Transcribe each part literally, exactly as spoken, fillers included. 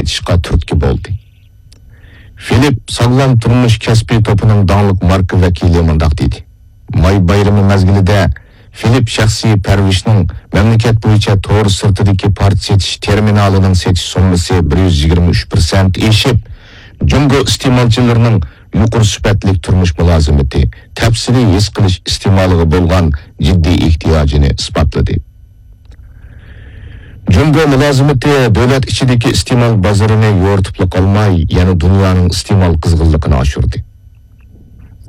ئېچىشقا تۈرتكە بولدى. فىلىپ ساغلام تۇرمۇش كەسپى توپىنىڭ داڭلىق ماركا ۋەكىلى مۇنداق دېدى: ماي بايرىمى مەزگىلىدە فىلىپ شەخسىي پەرۋىشنىڭ مەملىكەت بويىچە تور سىرتىدىكى پارچە سېتىش تېرمىنالىنىڭ سېتىش سوممىسى بىر يۈز يىگىرمە ئۈچ پىرسەنت ئېشىپ، جۇڭگو ئىستېمالچىلىرىنىڭ يۇقىرى سۈپەتلىك تۇرمۇش مۇلازىمىتى، تەپسىلىي ھېس قىلىش ئىستېمالىغا بولغان جىددىي ئېھتىياجىنى ئىسپاتلىدى. جۇڭگو مۇلازىمىتى دۆلەت ئىچىدىكى ئىستېمال بازىرىنى يورۇتۇپلا قالماي، يەنە دۇنيانىڭ ئىستېمال قىزغىنلىقىنى ئاشۇردى.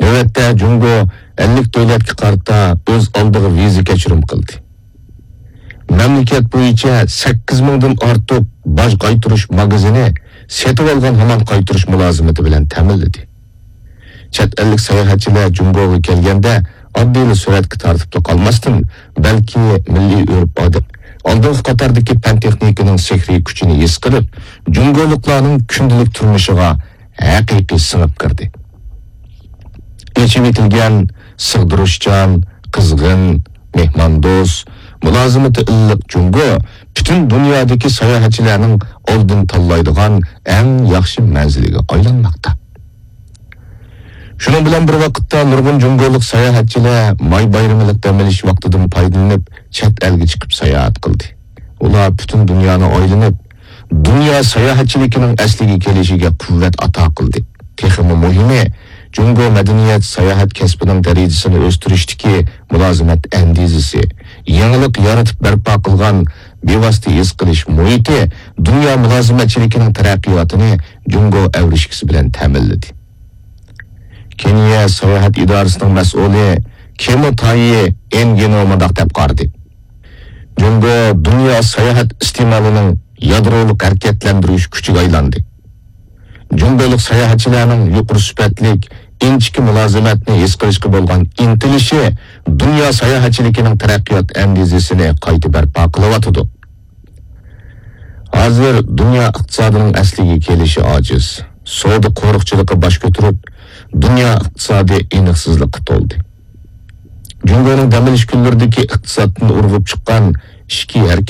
نۆۋەتتە جۇڭگو ئەللىك دۆلەتكە قارىتا ئۆز ئالدىغا ۋىزا كەچۈرۈم قىلدى. مەملىكەت بويىچە سەككىز مىڭدىن ئارتۇق باج قايتۇرۇش ماگىزىنى سېتىۋالغان ھامان قايتۇرۇش مۇلازىمىتى بىلەن تەمىنلىدى. چەت ئەللىك ساياھەتچىلەر جۇڭگوغا كەلگەندە ئاددىيلا سۈرەتكە تارتىپلا قالماستىن، بەلكى مىللىي ئۆرپ-ئادەت، ئالدىنقى قاتاردىكى پەن-تېخنىكىنىڭ سېھرىي كۈچىنى ھېس قىلىپ، جۇڭگولۇقلارنىڭ كۈندىلىك تۇرمۇشىغا ھەقىقىي سىڭىپ كىردى. ئېچىۋېتىلگەن، سىغدۇرۇشچان، قىزغىن، مېھماندوست، مۇلازىمىتى ئىللىق جۇڭگو پۈتۈن دۇنيادىكى ساياھەتچىلەرنىڭ ئالدىن تاللايدىغان ئەڭ ياخشى مەنزىلىگە ئايلانماقتا. شۇنىڭ بىلەن بىر ۋاقىتتا، نۇرغۇن جۇڭگولۇق ساياھەتچىلەر ماي بايرىمىلىق دەم ئېلىش ۋاقتىدىن پايدىلىنىپ، چەت ئەلگە چىقىپ ساياھەت قىلدى. ئۇلار پۈتۈن دۇنيانى ئايلىنىپ، دۇنيا ساياھەتچىلىكىنىڭ ئەسلىگە كېلىشىگە قۇۋۋەت ئاتا قىلدى. تېخىمۇ مۇھىمى، جۇڭگو مەدەنىيەت، ساياھەت كەسپىنىڭ دەرىجىسىنى ئۆستۈرۈشتىكى مۇلازىمەت ئەندىزىسى، يېڭىلىق يارىتىپ بەرپا قىلغان بىۋاسىتە ھېس قىلىش مۇھىتى دۇنيا مۇلازىمەتچىلىكىنىڭ تەرەققىياتىنى جۇڭگو ئەۋرىشكىسى بىلەن تەمىنلىدى. كېنىيە ساياھەت ئىدارىسىنىڭ مەسئۇلى كېمو تايى ئېنگىنو مۇنداق دەپ قارىدى: جۇڭگو دۇنيا ساياھەت ئىستېمالىنىڭ يادرولۇق ھەرىكەتلەندۈرگۈچ كۈچىگە ئايلاندى. جۇڭگولۇق ساياھەتچىلەرنىڭ يۇقىرى سۈپەتلىك، ئىنچىكە مۇلازىمەتنى ھېس قىلىشقا بولغان ئىنتىلىشى دۇنيا ساياھەتچىلىكىنىڭ تەرەققىيات ئەندىزىسىنى قايتا بەرپا قىلىۋاتىدۇ. ھازىر دۇنيا ئىقتىسادىنىڭ ئەسلىگە كېلىشى ئاجىز. سودا قورۇقچىلىقى باش كۆتۈرۈپ، دۇنيا ئىقتىسادى ئېنىقسىزلىققا تولدى. جۇڭگونىڭ دەم ئېلىش كۈنلىرىدىكى ئىقتىسادتىن ئۇرغۇپ چىققان ئىچكى ھەرىكەت